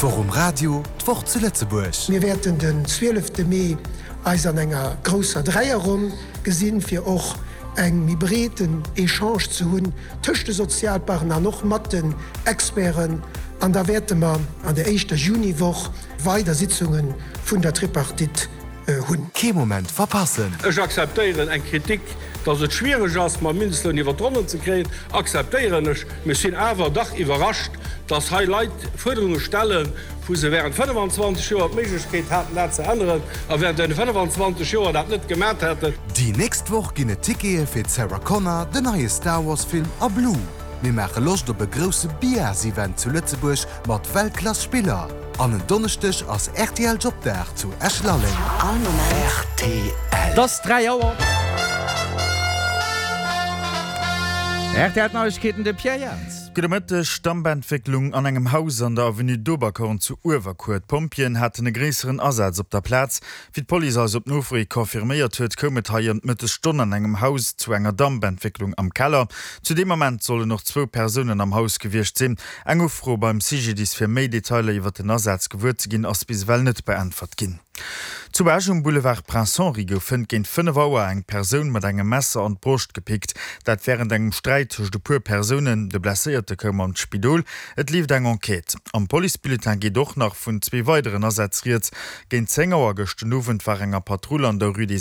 D'Woch um Radio, d'Woch zu Lëtzebuerg. Mir wäerten den 12 Mee eis an enger grousser Dräierronn gesinn, fir och eng méi breeten Echange ze hunn tëscht de Sozialpartner an och mat den Experten. An da wäerte mer an der éischter Juniwoch weider Sitzunge vun der Tripartite hunn. Kee Moment verpassen! Ech akzeptéieren eng Kritik, dass et schwiereg ass, mam Mindestloun iwwer d'Ronnen ze kréien, akzeptéieren ech. Mee ech sinn awer dach iwwerrascht, dass hei Leit Fuerderunge stellen, wou se während 25 Joer d'Méiglechkeet haten, dat ze änneren, a während deene 25 Joer dat net gemat hätten. Déi nächst Woch ginn et Tickete fir d'Sarah Connor, den neie Star Wars Film a Blue. Mir maache Loscht op e grousse Biars-Event zu Lëtzebuerg mat Weltklass Spiller. An en Donneschdeg ass rtl Jobdag zu Esch-Lalleng. All Moment. Rtl. Et ass 3 Auer. Rtl Neiegkeeten, de Pierre Jans. Gudde Mëtteg. Dampentwécklung an engem Haus an der Avenue d'Oberkorn zu Uewerkuer. D'Pompjeeën haten e gréisseren Asaz op der Plaz. Wéi d'Police eis op Nofro hi confirméiert huet, koum et hei ëm d'Mëttesstonn an engem Haus zu enger Dampentwécklung am Keller. Zu deem Ament sollen och zwou Persounen am Haus gewiescht sinn. Eng Ufro beim CGDIS fir méi Detailer iwwer den Asaz gewuer ze ginn, ass bis ewell net beäntwert ginn. Zu Esch um Boulevard Prince Henri gouf hënt géint 5 Auer eng Persoun mat engem Messer an d'Broscht gepickt. Dat wärend engem Sträit tëscht e puer Persounen. De Blesséierte koum an d'Spidol. Et leeft eng Enquête. Am Policebulletin geet och nach vun zwee weideren Asätz rieds. Géint 10 Auer gëscht den Owend war enger Patrull an der Rue des.